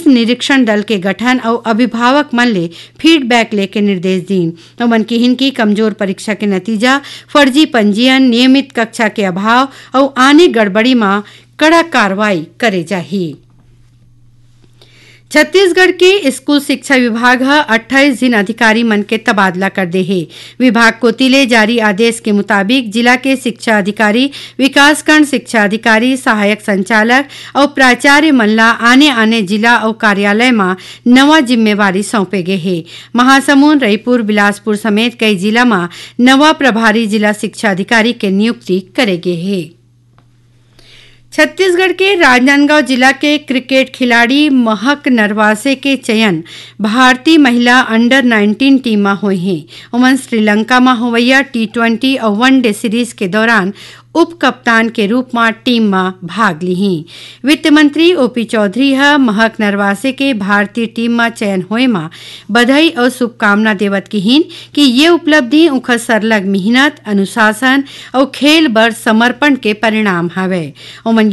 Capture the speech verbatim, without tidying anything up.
निरीक्षण दल के गठन अउ अभिभावक मन ले फीडबैक लेके निर्देश दीन। ओमन किहिन कि कमजोर परीक्षा के नतीजा, फर्जी पंजीयन, नियमित कक्षा के अभाव अउ आने गड़बड़ी म कड़ा कार्रवाई करे जाही। छत्तीसगढ़ के स्कूल शिक्षा विभाग ह अट्ठाईस झिन अधिकारी मन के तबादला कर दे हे। विभाग कोति ले जारी आदेश के मुताबिक, जिला के शिक्षा अधिकारी, विकासखंड शिक्षा अधिकारी, सहायक संचालक अउ प्राचार्य मन ला आने-आने जिला अउ कार्यालय म नवा जिम्मेवारी सौंपे गे हे। महासमुंद, रईपुर, बिलासपुर समेत कई जिला म नवा प्रभारी जिला शिक्षा अधिकारी के नियुक्ति करे गे हे। छत्तीसगढ़ के राजनांदगांव जिला के क्रिकेट खिलाड़ी महक नरवासे के चयन भारतीय महिला अंडर नाइनटीन टीम म होए हे। ओमन श्रीलंका म होवइया टी ट्वेंटी अउ वन डे सीरीज के दौरान उप कप्तान के रूप म टीम म भाग लिही। वित्त मंत्री ओपी चौधरी ह महक नरवासे के भारतीय टीम म चयन होए म बधाई अउ शुभकामना देवत किहीन कि ये उपलब्धि उंखर सरलग मिहनत, अनुशासन अउ खेल बर समर्पण के परिणाम हवय। ओमन